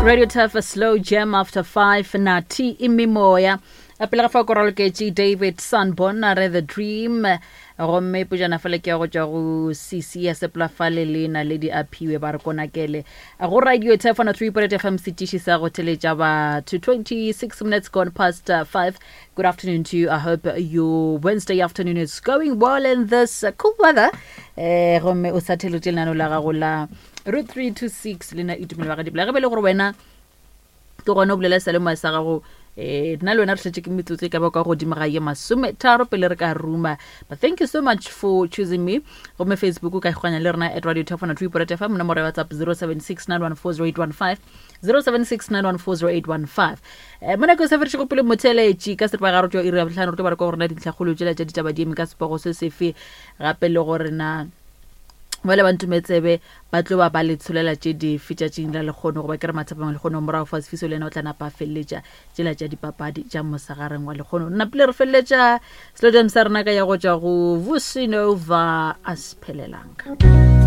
Radio Turf a slow jam after 5 Nati imimoya pele ga fa ko raloketše David Sanborn a re the dream gomme pojana fale ke ya go tšwa go cc ya sepolafale le naledi a phiwe ba re konakele go radio Turf 103.8 FM setiši sa go theletša batho 26 minutes gone past 5 Good afternoon to you. I hope your Wednesday afternoon is going well in this cool weather. Eh gomme o sa theletše lenano la gago la route 326 le na itumelo wa gadibla ge be le gore wena ke gona o bolela salemoya sa gago eh nna le wena re šetše ke metsotso e ka ba kwa godimo ga ye masometharo pele re ka ruma. But thank you so much for choosing me. Gomme Facebook o ka ikgwanya le rena at radio top 103.8 FM, nomoro ya WhatsApp 0769140815, 0769140815. Mo nako e sa fedišego pele motheeletši ka seripagare tšwa iri ya bohlano re tlo ba re kwa gore na dintlhakgolo tšela tša ditaba di eme ka sepogo se sefe, gape le gore na bale ba ntumetsebe ba tlo ba ba le tsholela tše dife tšatšing la lekgono, goba ke re mathapeng lekgono morago fa Sefiso le yena o tla napa a feleletša tšela tša dipapadi tša mosagareng wa lekgono. Nna pele re feleletša selodem sa rena ka ya go tšwa go Vusinova a sephelelanga.